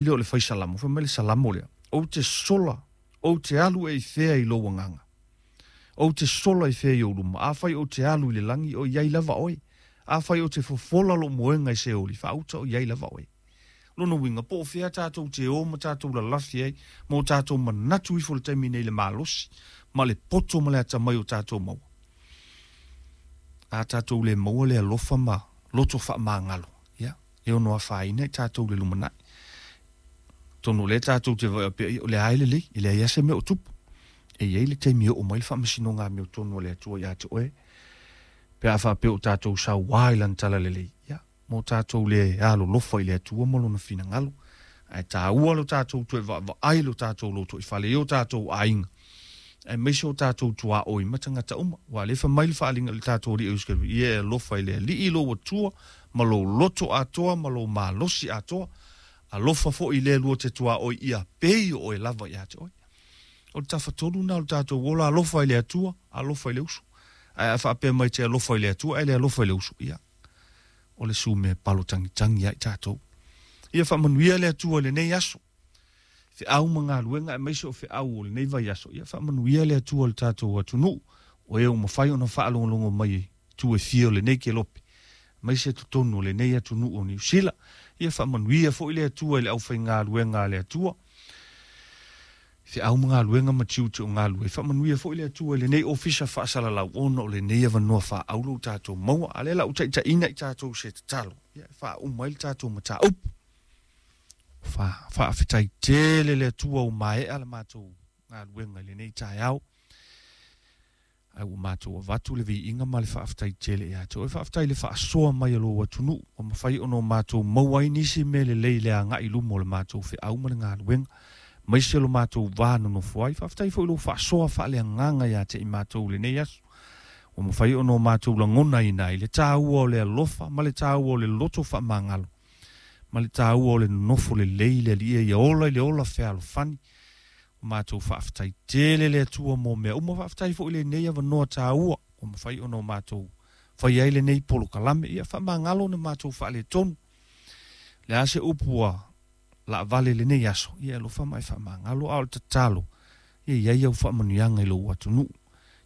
Lea o le fai salamo, fai mai le salamo lea, Ou te sola, ou te alu ea i fea i lou agaga? Ou te sola i fea i ou luma? Afai ou te alu i le lagi, o i ai lava oe. Afai ou te fofola lou moega i Seoli, faauta o i ai lava oe. O lona uiga, po o fea tatou te o ma tatou lalafi ai ma o tatou manatu ifo i le taimi nei i le malosi ma le poto ma le atamai o tatou maua. A tatou le maua le alofa ma loto faamagalo, ia, e ono afaina i tatou i le lumanai. Atonu o lea tatou te vaai pea, o lea lava e lelei, e leai lava se mea o tupu. E i ai le taimi e oo mai le faamasinoga amiotonu a le Atua ia te oe, pe a faapea o tatou sauā i Lana talalelei, ia, mo tatou le alolofa i le Atua ma Lona finagalo. Ae taua lo tatou toe vaavaai lo tatou lotoifale i o tatou aiga, aemaise o tatou tuaoi ma tagata uma. Aua o lea e fai mai le faaaliga i le tatou Alii o Iesu Keriso, Ia e alofa i le Alii lou Atua ma lou loto atoa ma lou malosi atoa, alofa foi i le lua te tuaoi ia pei o oe lava ia te oe. O le tafatolu lena o le tatou ola, alofa i le Atua, alofa i le uso. Ae a faapea mai te alofa i le Atua ae le alofa i le uso, ia, o le sumea palo tagitagi ia i tatou. Ia faamanuia le Atua i lenei aso. Feau ma galuega aemaise o feau o lenei vaiaso, ia faamanuia le Atua i le tatou atunuu, o e ua mafai ona faalogologo mai i itu e fia o lenei kelope, aemaise totonu o lenei atunuu o Niu Sila. Ia faamanuia foi le Atua i le aufaigaluega a le Atua, feau ma galuega ma tiute o galulue. Faamanuia foi le Atua i lenei ofisa faasalalau ona o lenei avanoa faaauro ua tatou maua. A o lea la ua taitaiina i tatou se tatalo, ia e faauma ai le tatou mataupu. Faafetai tele le Atua ua maea le matou galuega i lenei taeao. Ae ua matou avatu le viiga ma le faafetai tele ia te oe. Faafetai i le faasoa mai a lou atunuu ua mafai ona o matou maua ai nisi mea lelei i le agai i luma o le matou feau ma le galuega, aemaise lo matou va nonofo ai. Faafetai foi i lou faasoa faaleagaga ia te i matou i lenei aso, ua mafai ona o matou lagonaina ai le taua o le alofa ma le taua o le loto faamagalo ma le taua o le nonofo lelei i le Alii ia ola i le ola fealofani. Ua matou faafetai tele le Atua mo mea uma. Faafetai foi i lenei avanoa taua ua mafai ona o matou fai ai lenei polokalame. Ia faamagalo ona matou faaletonu. Le a se upu ua laavale i lenei aso, ia e alofa ma e faamagalo. A o le tatalo, ia i ai au faamanuiaga i lou atunuu.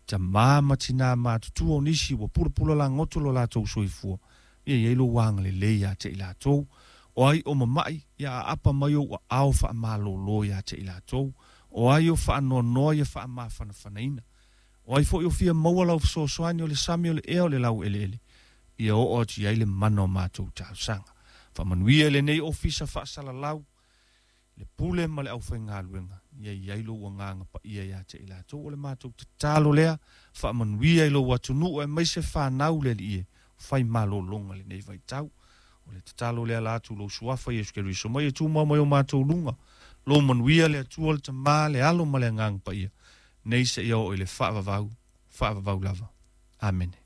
Tama ma tinā matutua o nisi ua pulapula lagoto lo latou soifua, ia i ai lou agalelei ia te i latou. O ai o mama'i, ia aapa mai ou aao faamalōlō ia te i latou. O ai o faanoanoa, ia faamafanafanaina. O ai foi o fia maua lau fesoasoani o le sami o le ea o le laueleele, ia oo atu i ai le mana o matou talosaga. Faamanuia i lenei ofisa faasalalau, le pule ma le aufaigaluega, ia i ai lou agaga paia ia te i latou. O le matou tatalo lea, faamanuia i lou atunuu aemaise fanau le Alii e fai malologa i lenei vaitau. O le tatalo lea la atu lou Suafa Iesu Keriso mai e tumau mai o matou luga. Lou manuia le Atua le Tama, le Alo ma le Agaga Paia, nei seia oo i le faavavau, faavavau lava. Amene.